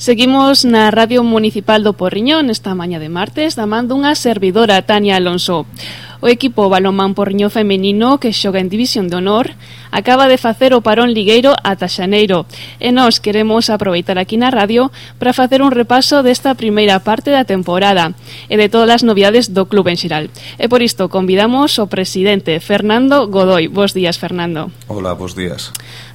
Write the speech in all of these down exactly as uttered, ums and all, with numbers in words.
Seguimos na Radio Municipal do Porriño nesta mañá de martes da man dunha servidora, Tania Alonso. O equipo balonmán Porriño femenino que xoga en División de Honor acaba de facer o parón ligueiro ata xaneiro e nós queremos aproveitar aquí na radio para facer un repaso desta primeira parte da temporada e de todas as novidades do club en xeral. E por isto convidamos o presidente Fernando Godoy. Bos días, Fernando. Hola, bos días.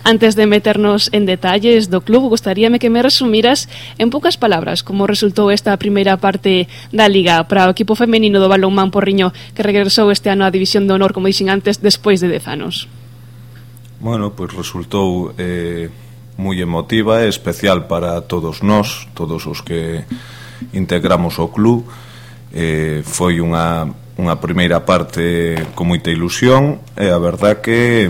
Antes de meternos en detalles do club, gustaríame que me resumiras en poucas palabras como resultou esta primeira parte da Liga para o equipo femenino do balonmán Porriño que regresou este ano á División de Honor, como dixen antes, despois de dez anos. Bueno, pois pues resultou eh, moi emotiva e especial para todos nós, todos os que integramos o club. Eh, foi unha, unha primeira parte con moita ilusión e a verdad que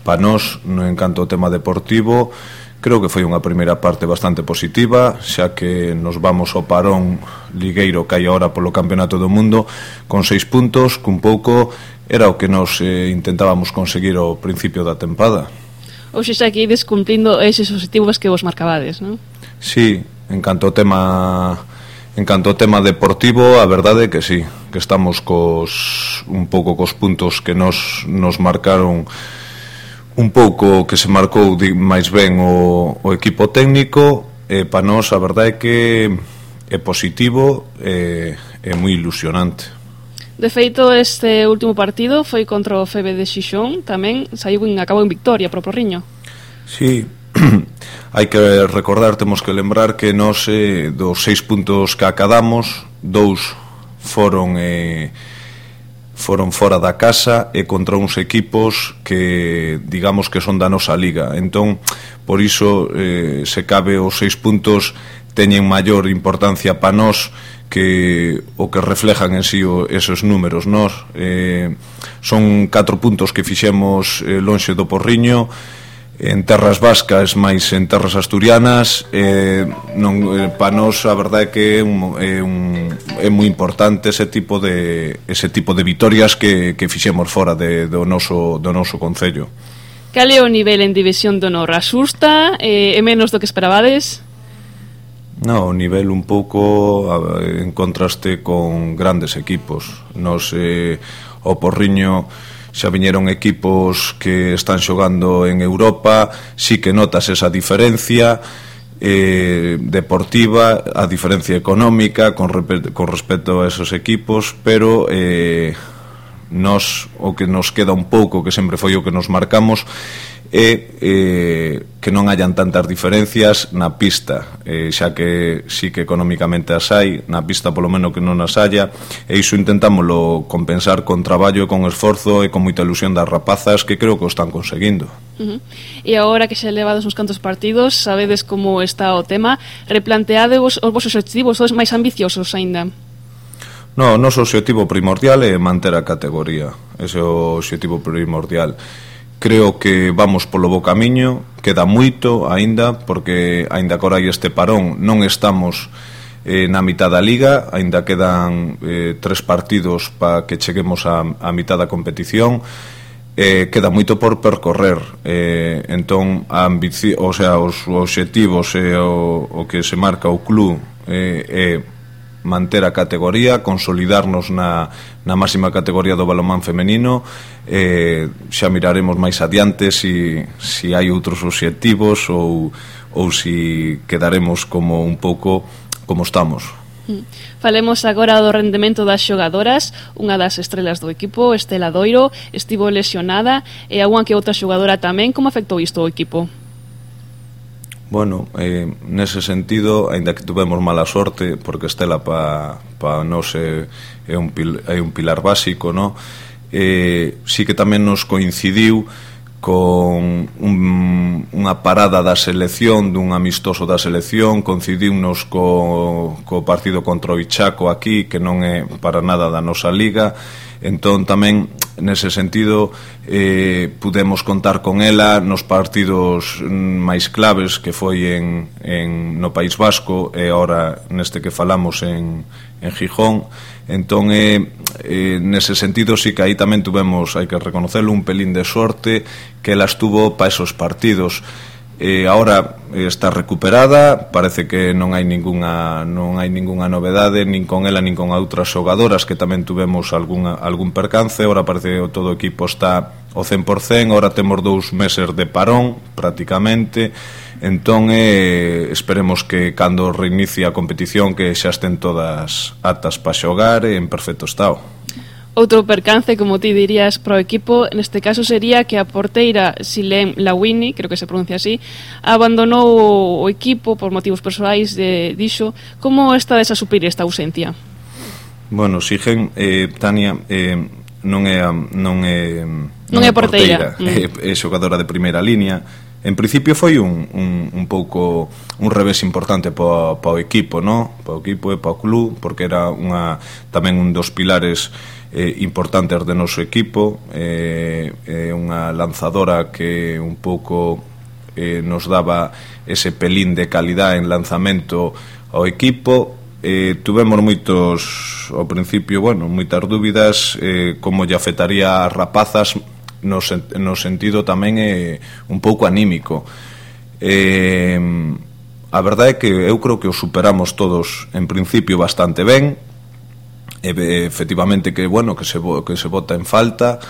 para nós, no encanto o tema deportivo, creo que foi unha primeira parte bastante positiva, xa que nos vamos ao parón ligueiro que hai agora polo Campeonato do Mundo con seis puntos, cun pouco era o que nos eh, intentábamos conseguir ao principio da tempada. Ou xa que ides cumplindo eses objetivos que vos marcabades, non? Sí, en canto ao tema en canto ao tema deportivo, a verdade é que sí, que estamos cos un pouco cos puntos que nos nos marcaron, un pouco que se marcou máis ben o, o equipo técnico, e para nós a verdade é que é positivo e é moi ilusionante. De feito, este último partido foi contra o F B de Xixón, tamén saiu en, acabou en victoria pro Porriño. Sí, hai que recordar, temos que lembrar que nós eh, dos seis puntos que acadamos, dous foron eh, foron fora da casa e contra uns equipos que digamos que son da nosa liga. Entón, por iso eh, se cabe os seis puntos teñen maior importancia para nós que o que reflejan en sí o, esos números. Nós eh, son catro puntos que fixemos eh, lonxe do Porriño, en terras vascas, máis en terras asturianas. eh, non, eh, para nós a verdade é que é, un, é, un, é moi importante ese tipo de ese tipo de vitorias que, que fixemos fora de, do, noso, do noso concello. Cal é o nivel en División de Honor? Asusta? Eh, é menos do que esperabades? No, o nivel un pouco en contraste con grandes equipos. Nos eh, o Porriño xa viñeron equipos que están xogando en Europa, sí que notas esa diferencia eh, deportiva, a diferencia económica con, con respecto a esos equipos, pero eh, nos, o que nos queda un pouco, que sempre foi o que nos marcamos, é eh, que non hayan tantas diferencias na pista, eh, xa que sí que económicamente as hai, na pista polo menos que non as haya, e iso intentámoslo compensar con traballo e con esforzo e con moita ilusión das rapazas, que creo que o están conseguindo. Uh-huh. E agora que xa levados uns cantos partidos, sabedes como está o tema, replanteadevos os vosos objetivos, os máis ambiciosos aínda? No, o noso obxectivo primordial é manter a categoría, ese é o obxectivo primordial. Creo que vamos polo bo camiño, queda moito aínda, porque aínda que hai este parón non estamos eh, na mitad da liga, aínda quedan eh, tres partidos para que cheguemos a, a mitad da competición, eh, queda moito por percorrer, eh, entón a ambici- o sea, os obxectivos e o, o que se marca o club é eh, eh, manter a categoría, consolidarnos na, na máxima categoría do balonmán femenino. eh, xa miraremos máis adiante si, si hai outros obxectivos ou, ou si quedaremos como un pouco como estamos. Falemos agora do rendemento das xogadoras. Unha das estrelas do equipo, Estela Doiro, estivo lesionada e algunha que outra xogadora tamén. Como afectou isto ao equipo? Bueno, eh, nese sentido, aínda que tuvemos mala sorte, porque Estela pa, pa nos é, é, un pil, é un pilar básico, no? eh, sí que tamén nos coincidiu con un, unha parada da selección, dun amistoso da selección, coincidiunos co, co partido contra o Ichaco aquí, que non é para nada da nosa liga. Entón tamén nese sentido eh, pudemos contar con ela nos partidos máis claves que foi en, en, no País Vasco e agora neste que falamos en, en Gijón. Entón eh, eh, nese sentido sí que aí tamén tuvemos, hai que reconocerlo, un pelín de sorte que ela estuvo para esos partidos. eh, ahora está recuperada, parece que non hai ningunha non hai ningunha novedade nin con ela nin con outras xogadoras que tamén tuvemos algunha, algún percance. Ahora parece que todo o equipo está ao cen por cen, ahora temos dous meses de parón prácticamente, entón eh, esperemos que cando reinicie a competición que xa estén todas aptas para xogar en perfecto estado. Outro percance, como ti dirías, para o equipo, neste caso sería que a porteira Silene Lawini, creo que se pronuncia así, abandonou o equipo por motivos persoais, de, dixo. Como estades a suplir esta ausencia? Bueno, Sigen, eh, Tania, eh, non é non é non, non é porteira, porteira mm. é, é xogadora de primeira línea. En principio foi un, un, un pouco un revés importante para pa o equipo, no? Para o equipo e para o club, porque era unha tamén un dos pilares eh, importantes do noso equipo, é eh, eh, unha lanzadora que un pouco eh, nos daba ese pelín de calidad en lanzamento ao equipo. Eh, tuvemos moitos ao principio, bueno, moitas dúbidas eh, como lle afectaría as rapazas no, sen, no sentido tamén eh, un pouco anímico. Eh, a verdade é que eu creo que o superamos todos en principio bastante ben. E, efectivamente que bueno que se que se bota en falta,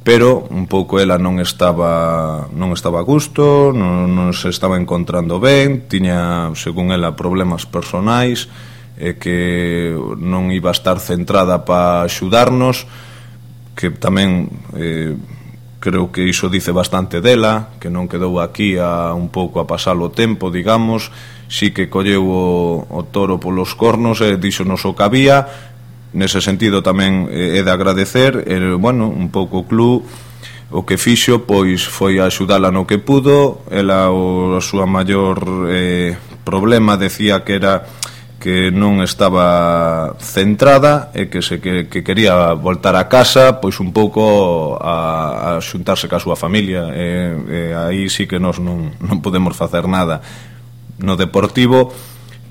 pero un pouco ela non estaba non estaba a gusto, non, non se estaba encontrando ben, tiña, según ela, problemas personais e que non iba a estar centrada para axudarnos, que tamén eh, creo que iso dice bastante dela, que non quedou aquí a un pouco a pasar o tempo, digamos, si que colleu o, o toro polos cornos e díxonos o que había. Nese sentido tamén é de agradecer, e, bueno, un pouco o club o que fixo pois foi axudala no que pudo. Ela, o a súa maior eh, problema, decía que era que non estaba centrada e que se que, que quería voltar a casa pois un pouco a, a xuntarse ca súa familia, e, e aí sí que nós non, non podemos facer nada. No deportivo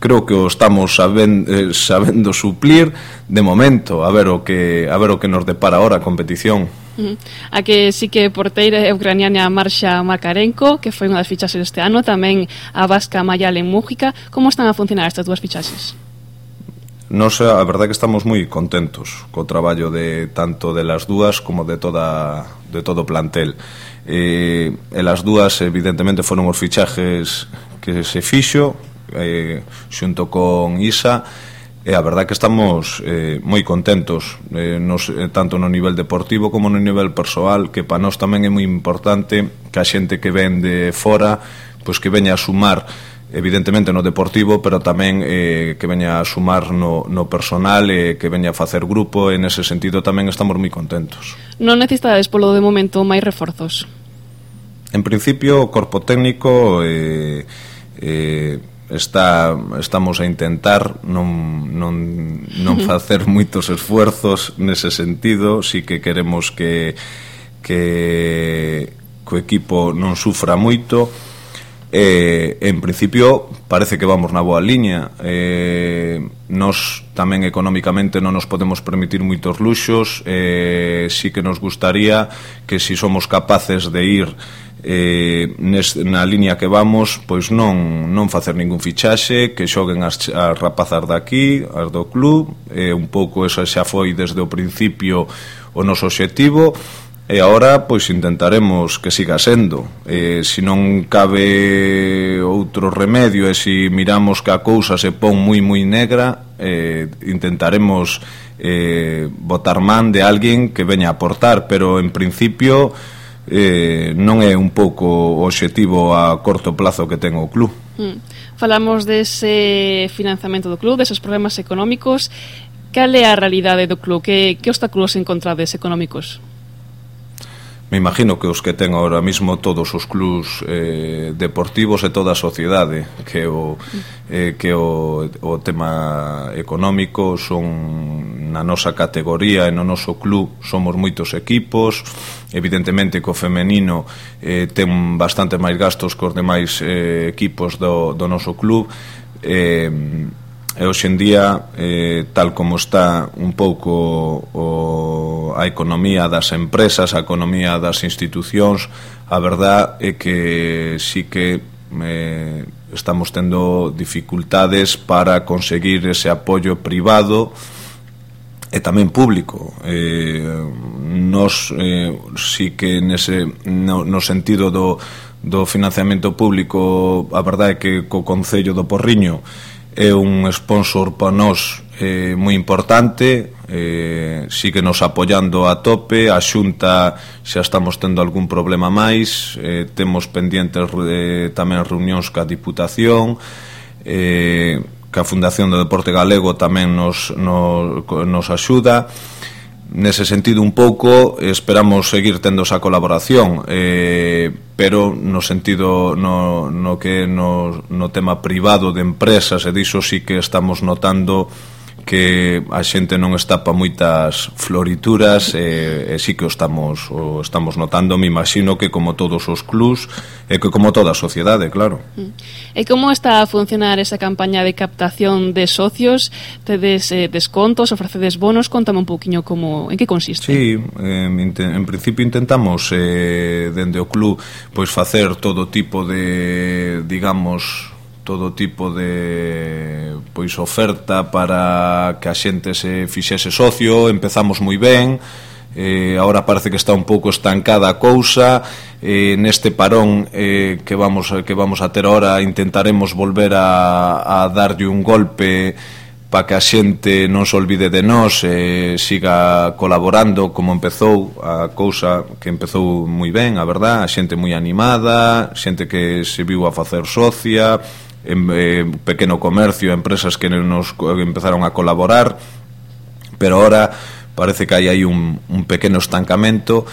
creo que o estamos sabendo, eh, sabendo suplir de momento, a ver o que a ver o que nos depara ahora a competición. Uh-huh. A que sí que porteira é ucraniana Marsha Makarenko, que foi unha das fichaxes este ano, tamén a vasca Mayalen Mújica. Como están a funcionar estas dúas fichaxes? Nos, a verdade que estamos moi contentos co traballo de tanto de las dúas como de toda de todo o plantel. Eh, e las dúas evidentemente foron os fichajes que se fixo eh, xunto con Isa, e a verdade que estamos eh, moi contentos, eh, nos, eh, tanto no nivel deportivo como no nivel persoal, que para nós tamén é moi importante que a xente que ven de fora pois que veña a sumar evidentemente no deportivo, pero tamén eh, que veña a sumar no, no personal e eh, que veña a facer grupo. En ese sentido tamén estamos moi contentos. Non necesitades polo de momento máis reforzos? En principio o corpo técnico eh, eh, está estamos a intentar non, non, non facer moitos esfuerzos nese sentido. Si que queremos que que o equipo non sufra moito. Eh, en principio parece que vamos na boa liña. Eh, nos tamén económicamente non nos podemos permitir moitos luxos. Eh, si que nos gustaría que si somos capaces de ir eh, nes, na liña que vamos, pois non non facer ningún fichaxe, que xoguen as, as rapazas daqui, as do club. Eh, un pouco esa xa foi desde o principio o noso obxectivo. E agora pois intentaremos que siga sendo. Eh, se non cabe outro remedio e se miramos que a cousa se pon moi moi negra, eh, intentaremos eh, botar man de alguén que veña a aportar, pero en principio eh, non é un pouco o obxectivo a corto plazo que ten o club. Mm. Falamos dese financiamento do club, deses problemas económicos. Cal é a realidade do club? Que, que obstáculos encontrades económicos? Me imagino que os que ten ahora mismo todos os clubs eh, deportivos e toda a sociedade, que o, eh, que o, o tema económico son na nosa categoría e no noso club somos moitos equipos. Evidentemente que o femenino eh, ten bastante máis gastos que os demais eh, equipos do, do noso club. Eh, E hoxe en día, eh, tal como está un pouco o, a economía das empresas, a economía das institucións, a verdad é que sí que eh, estamos tendo dificultades para conseguir ese apoio privado e tamén público. Eh, nos eh, sí que nese, no, no sentido do, do financiamento público, a verdade é que co Concello do Porriño é un sponsor para nós eh, moi importante, eh, sigue nos apoiando a tope. A Xunta xa estamos tendo algún problema máis, eh, temos pendientes eh, tamén reunións ca Diputación, eh, que a Fundación do Deporte Galego tamén nos, nos, nos axuda. Nese sentido un pouco esperamos seguir tendo esa colaboración, eh, pero no sentido no, no que no, no tema privado de empresas, e diso sí que estamos notando que a xente non está pa moitas florituras, e, e sí que o estamos, o estamos notando. Me imagino que como todos os clubs e que como toda a sociedade, claro. E como está a funcionar esa campaña de captación de socios? Tedes eh, descontos, ofrecedes bonos? Contame un pouquiño como, en que consiste. Sí, eh, en principio intentamos eh, dende o club pois facer todo tipo de, digamos, todo tipo de pois oferta para que a xente se fixese socio. Empezamos moi ben, eh, agora parece que está un pouco estancada a cousa. Eh, neste parón eh, que vamos que vamos a ter ahora intentaremos volver a, a darlle un golpe para que a xente non se olvide de nós e eh, siga colaborando como empezou a cousa, que empezou moi ben, a verdad, a xente moi animada, xente que se viu a facer socia, en eh, pequeno comercio, empresas que nos empezaron a colaborar, pero ahora parece que hai aí un, un pequeno estancamento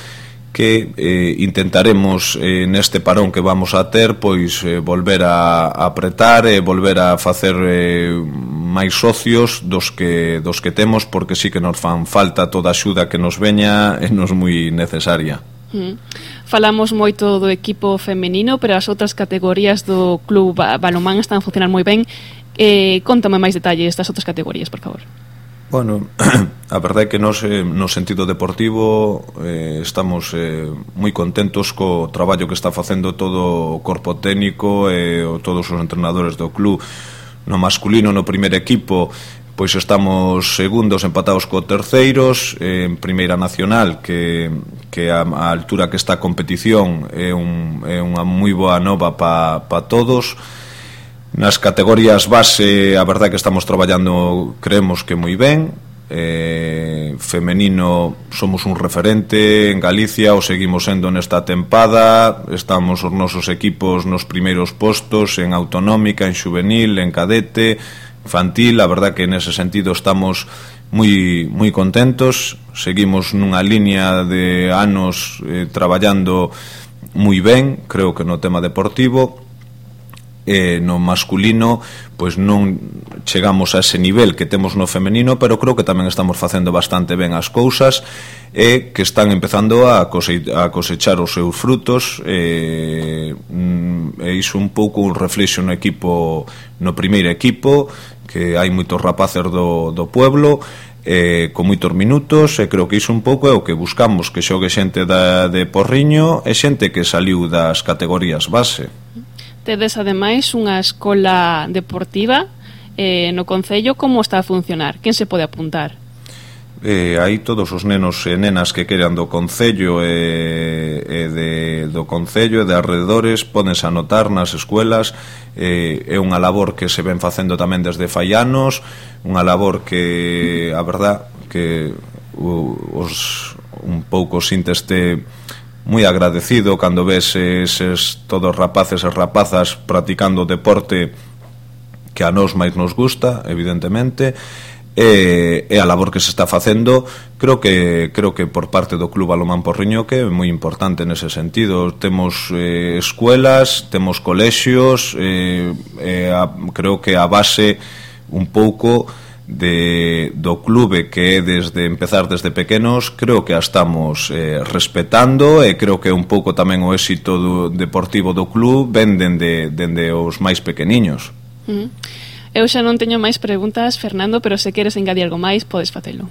que eh, intentaremos eh, neste parón que vamos a ter pois eh, volver a, a apretar e volver a facer eh, máis socios dos que, dos que temos, porque sí que nos fan falta toda a axuda que nos veña, e nos moi necesaria. Mm. Falamos moito do equipo femenino, pero as outras categorías do club balonmán están a funcionar moi ben. Eh, contame máis detalles das outras categorías, por favor. Bueno, a verdade é que nos, eh, no sentido deportivo eh, estamos eh, moi contentos co traballo que está facendo todo o corpo técnico e eh, todos os entrenadores do club. No masculino, no primeiro equipo, pois estamos segundos empatados co terceiros, eh, en Primeira Nacional, que, que a, a altura que está a competición é, un, é unha moi boa nova para pa todos. Nas categorías base, a verdade é que estamos traballando, creemos que moi ben. Eh, femenino somos un referente en Galicia, o seguimos sendo nesta tempada. Estamos os nosos equipos nos primeiros postos en autonómica, en xuvenil, en cadete, infantil. A verdade que nese sentido estamos moi moi contentos. Seguimos nunha liña de anos eh, traballando moi ben, creo que no tema deportivo. Eh, no masculino pois non chegamos a ese nivel que temos no femenino, pero creo que tamén estamos facendo bastante ben as cousas e que están empezando a, cose, a cosechar os seus frutos. E, e iso un pouco un reflexo no equipo, no primeiro equipo, que hai moitos rapaces do, do pueblo, eh, con moitos minutos, e creo que iso un pouco é o que buscamos, que xogue xente da, de Porriño e xente que saliu das categorías base. Tedes ademais unha escola deportiva eh, no Concello. Como está a funcionar? Quen se pode apuntar? Eh, hai todos os nenos e nenas que queran do Concello e, e de, do Concello e de alrededores pódense anotar nas escuelas. Eh, é unha labor que se ven facendo tamén desde fai anos, unha labor que a verdad que os un pouco sinteste moi agradecido cando ves eses todos rapaces e rapazas practicando deporte que a nós máis nos gusta, evidentemente, e, e a labor que se está facendo, creo que creo que por parte do Club Balonmán Porriño que é moi importante nese sentido. Temos eh, escuelas, temos colexios, eh, eh, a, creo que a base un pouco de, do clube, que é desde empezar desde pequenos, creo que a estamos eh, respetando, e creo que é un pouco tamén o éxito do deportivo do club ven dende, dende os máis pequeniños. Mm. Eu xa non teño máis preguntas, Fernando, pero se queres engadir algo máis, podes facelo.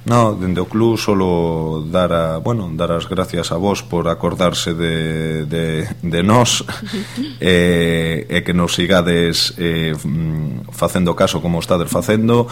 No, dende o club solo dar a, bueno, dar as gracias a vos por acordarse de, de, de nós e, e que nos sigades eh, facendo caso como estades facendo,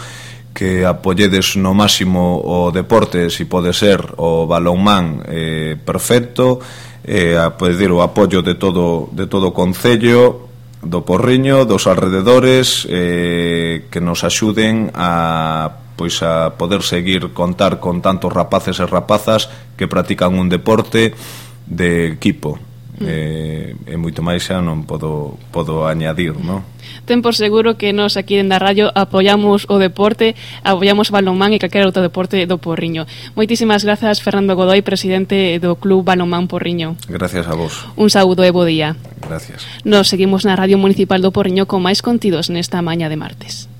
que apoyedes no máximo o deporte, si pode ser o balonmán eh, perfecto, e a pedir o apoio de todo, de todo o concello, do Porriño, dos alrededores, eh, que nos axuden a pois a poder seguir contar con tantos rapaces e rapazas que practican un deporte de equipo. Mm. eh, e moito máis xa non podo, podo añadir, non? Ten por seguro que nos aquí en da radio apoiamos o deporte, apoiamos o balonmán e calquera outro deporte do Porriño. Moitísimas grazas, Fernando Godoy, presidente do Club Balonmán Porriño. Gracias a vos. Un saúdo e bo día. Gracias. Nos seguimos na Radio Municipal do Porriño con máis contidos nesta maña de martes.